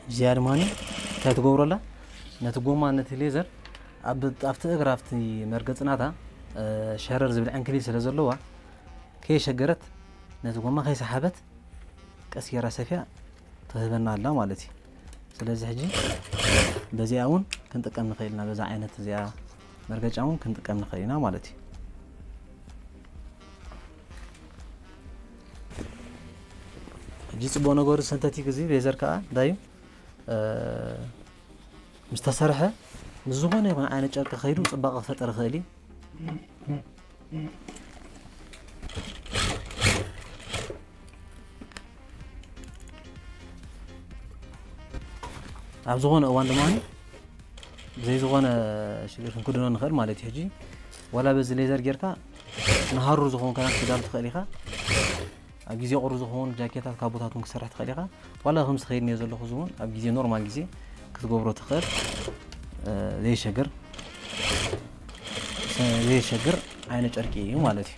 እዚኣ ድማ እንታይ ትገብሮ ኣላ? ነቲ ጎማ ነቲ ሌዘር ኣብ ኣብቲ እግራ ኣብቲ መርገጽ ናታ ሸረር ዝብል ዕንክሊል ስለ ዘለዋ ከይሸገረት ነቲ ጎማ ከይሰሓበት ቀስ ጌራ ሰፊያ ትህበና ኣላ ማለት እዩ። ስለዚ ሕጂ በዚኣ እውን ክንጥቀም ንኽእል ኢና፣ በዛ ዓይነት እዚኣ መርገጫ እውን ክንጥቀም ንኽእል ኢና ማለት እዩ። ሕጂ ጽቡቕ ነገሩ ሰንተቲክ እዚ ሌዘር ከዓ እንታይ እዩ? ምስ ተሰርሐ ምስ ዝኾነ ይኹን ዓይነት ጨርቂ ከይዱ ጽባቐ ክፈጥር ይኽእል እዩ። ኣብ ዝኾነ እዋን ድማ ብዘይ ዝኾነ ሽግር ክንክድኖ ንኽእል ማለት እዩ። ሕጂ ዋላ በዚ ሌዘር ጌርካ ንሃሩር ዝኸውን ክዳን ክትዳሉ ትኽእል ኢኻ። ኣብ ግዜ ቁሪ ዝኸውን ጃኬታት ካብ ቦታቱን ክሰርሕ ትኽእል ኢኻ። ዋላ ከምዚ ከይድ እየ ዘለኹ እዚ እውን ኣብ ግዜ ኖርማል ግዜ ክትገብሮ ትኽእል ዘይሸግር ዘይሸግር ዓይነት ጨርቂ እዩ ማለት እዩ።